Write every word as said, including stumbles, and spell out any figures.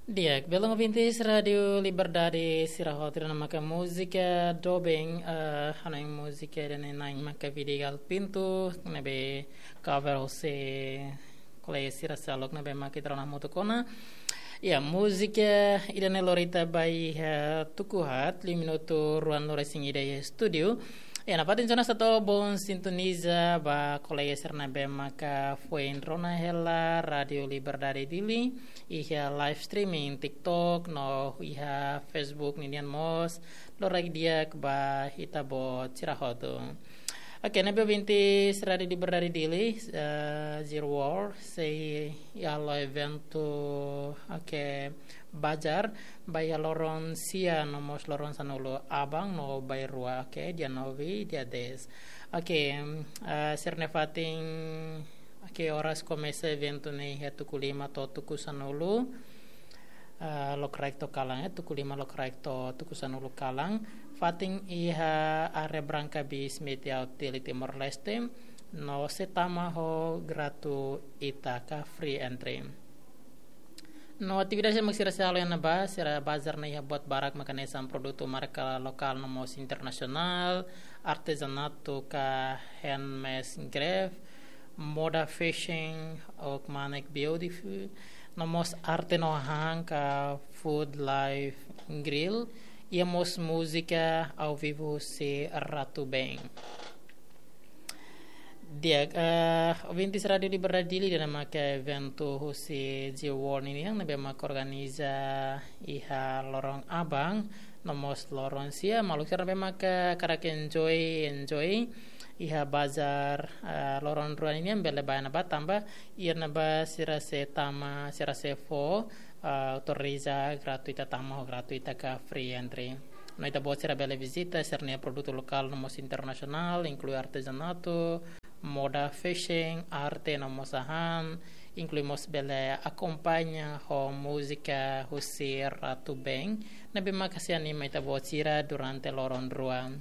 Di'ak, belun ouvintes Rádio Liberdade sira hotu, ida-ne'e maka múzika doben, eh, hanoin múzika ida-ne'e na'in maka Vidigal Pinto, ne'ebé cover husi kolega sira seluk ne'ebé maka ita rona hamutuk ona. Ya, múzika ida-ne'e lori ita ba iha tuku haat, liu minutu ruanulu-resin-ida iha estúdiu. Ya, nafatin tiha ona satu bom sintoniza ba kolega sira ne'ebé maka foin rona hela Rádio Liberdade Dili iha live streaming TikTok no iha Facebook ninian mós, loraik di'ak ba ita-boot sira hotu. Oke, ne'ebé ouvintes Rádio Liberdade Dili, eh, Zero War, sei halo eventu, oke, bazar, ba iha loron sia no mós loron sanulu aban no bainrua, oke, dia nove, dia dez. Oke, eh, sira-nia fatin, oke, oras komesa eventu ne'e iha tuku lima to'o tuku sanulu. Eh, lokraik to'o kalan, eh, tuku lima lokraik to'o tuku sanulu kalan. Fatin iha área Branca Bis Media Hotel Timor-Leste. No sei tama ho gratuita ka free entry. No atividade mak sira sei halo iha ne'ebá, sira bazar ne'e iha buat barak maka hanesan produtu marka lokál no mós internasionál, artezanatu ka handmade craft, moda fashion, Organic Beautiful, no mós arte no hahán ka Food Life Grill, iha mós múzika ao vivo husi Ratu Band. Di'ak, eh, ouvintes Rádio Liberdade Dili, ida-ne'e maka eventu husi Zero War ninian ne'ebé maka organiza iha loron aban no mós loron sia, maluk sira ne'ebé maka hakarak enjoy, enjoy iha bazar, eh, loron rua ninian bele bá iha ne'ebá tanba iha ne'ebá sira sei tama, sira sei fó, eh, autoriza gratuita tama ho gratuita ka free entry. No ita-boot sira bele vizita sira-nia produtu lokál no mós internasionál, inklui artezanatu, moda fashion, arte no mós hahán, inklui mós bele akompaña ho múzika husi Ratu Band, ne'ebé maka sei anima ita-boot sira durante loron rua.